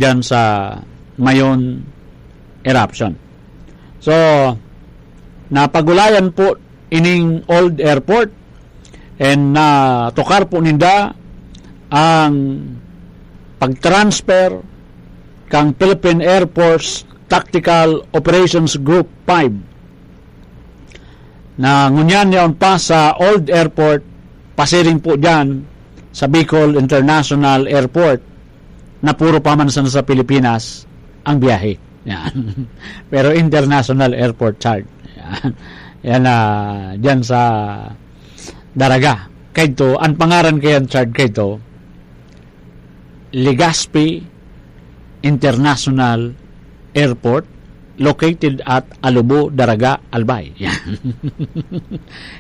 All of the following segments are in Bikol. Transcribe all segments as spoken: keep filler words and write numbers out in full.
diyan sa Mayon eruption. So, napagulayan po ining old airport and natukar po ninda ang pag-transfer kang Philippine Air Force Tactical Operations Group five na ngunyan yaon pa sa old airport, pasiring po dyan sa Bicol International Airport na puro pa man sana sa Pilipinas ang biyahe. Yan. Pero international airport, Chard. Yan. Yan na dyan sa Daraga. Kaito, ang pangaran kayan, Chard, kaito, Legazpi International Airport, located at Alubo, Daraga, Albay. Yan.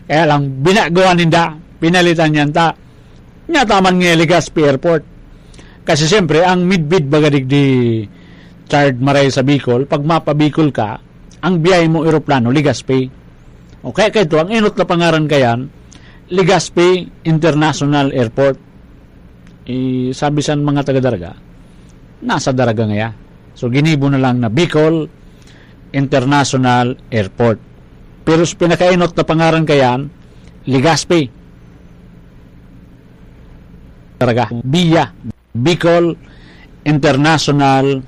Kaya lang, binaguhan ninda, pinalitan niyan ta. Nya taman nga Legazpi Airport. Kasi siyempre, ang midbid baga digdi, Chard, maray sa Bicol, pag mapa Bicol ka, ang biyahe mo eroplano, Legazpi. O kaya kaito, ang enot na pangaran kayan, Legazpi International Airport. I, sabi sa mga taga Daraga, nasa Daraga ngaya. So, ginibo na lang na Bicol International Airport. Pero sa pinakaenot na pangaran kayan, Legazpi. Daraga. Biya. Bicol International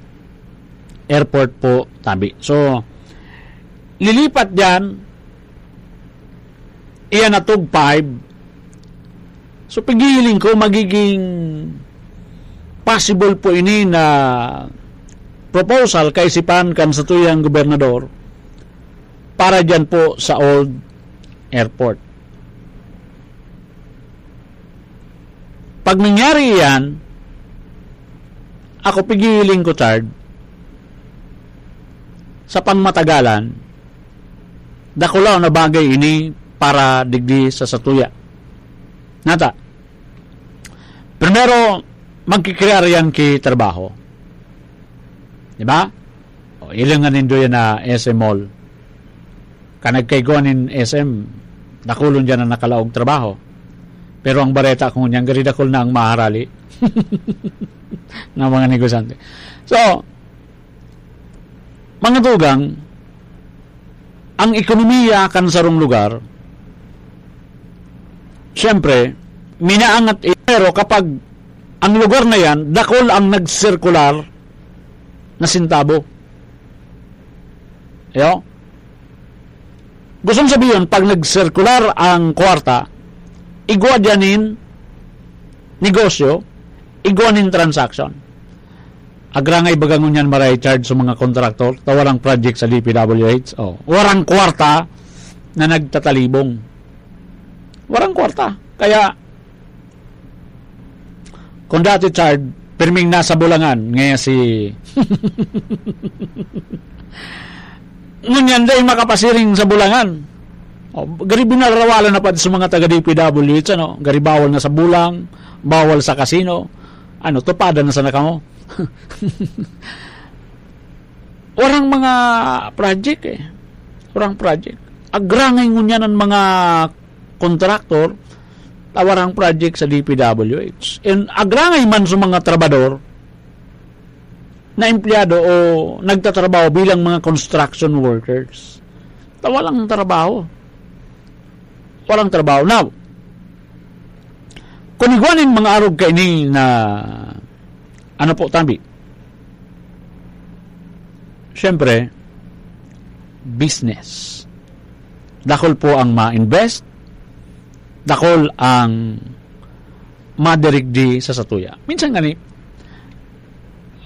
Airport po, tabi. So, lilipat diyan, iyan na tug five. So, pigiling ko, magiging possible po ini na proposal kaisipan kan satuyang gobernador para diyan po sa old airport. Pag nangyari iyan, ako pigiling ko, Chard, sa pangmatagalan, dakulaw na bagay ini para digdi sa satuya. Nata, primero, magkikrear yan ki trabaho. Di ba? O, ilingan nindo yan na S M Mall. Kan nagkaigwa nin S M, dakulon diyan ang nakalaog trabaho. Pero ang bareta ko ngunyan, gari dakul na ang maharali ng mga negosyante. So, mga tugang, ang ekonomiya kan sarong lugar, siyempre, minaangat i-, pero kapag ang lugar na yan, dakul ang nagsirkular na sintabo. Yo? Gustong sabihin, pag nagsirkular ang kwarta, igwa diyan nin negosyo, igwa nin transaction. Agrangay baga ngunyan maray, Chard, sa mga kontraktor, ta warang project sa D P W H. Oh, warang kwarta na nagtatalibong. Warang kwarta. Kaya, kung dati, Chard, pirming nasa Bulangan, ngayon si ngunyan dai makapasiring sa Bulangan. O, gari binarawalan na pa sa mga taga D P W H, ano, gari bawal na sa bulang, bawal sa kasino. Ano, tupadan na sana kamo. Warang mga project eh. Warang project. Agrangay ngunyan ang mga kontraktor, ta warang project sa D P W H. And agrangay man sa mga trabador na empleyado o nagtatrabaho bilang mga construction workers, ta walang trabaho. Walang trabaho. Now, kung igwa nin mga arog kaini na, ano po, tabi? Siyempre, business. Dakul po ang ma-invest, dakul ang madirigdi sa satuya. Minsan gani,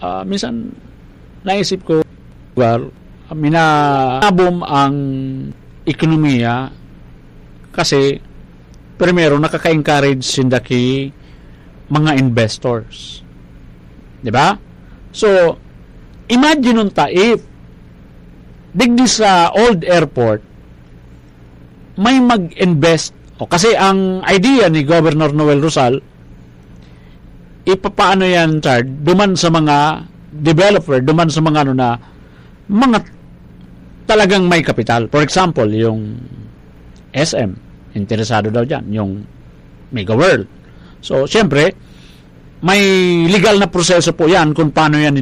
ah, minsan naisip ko, lugar, minabom ang ekonomiya kasi primero nakaka-encourage sinda ki mga investors. Di ba? So, imagine unta if digdi sa old airport, may mag-invest. O, kasi ang idea ni Governor Noel Rosal, ipapaano yan, Chard, duman sa mga developer, duman sa mga ano na, mga talagang may kapital. For example, yung S M, interesado daw dyan, yung Mega World. So, siyempre, may legal na proseso po yan kung paano yan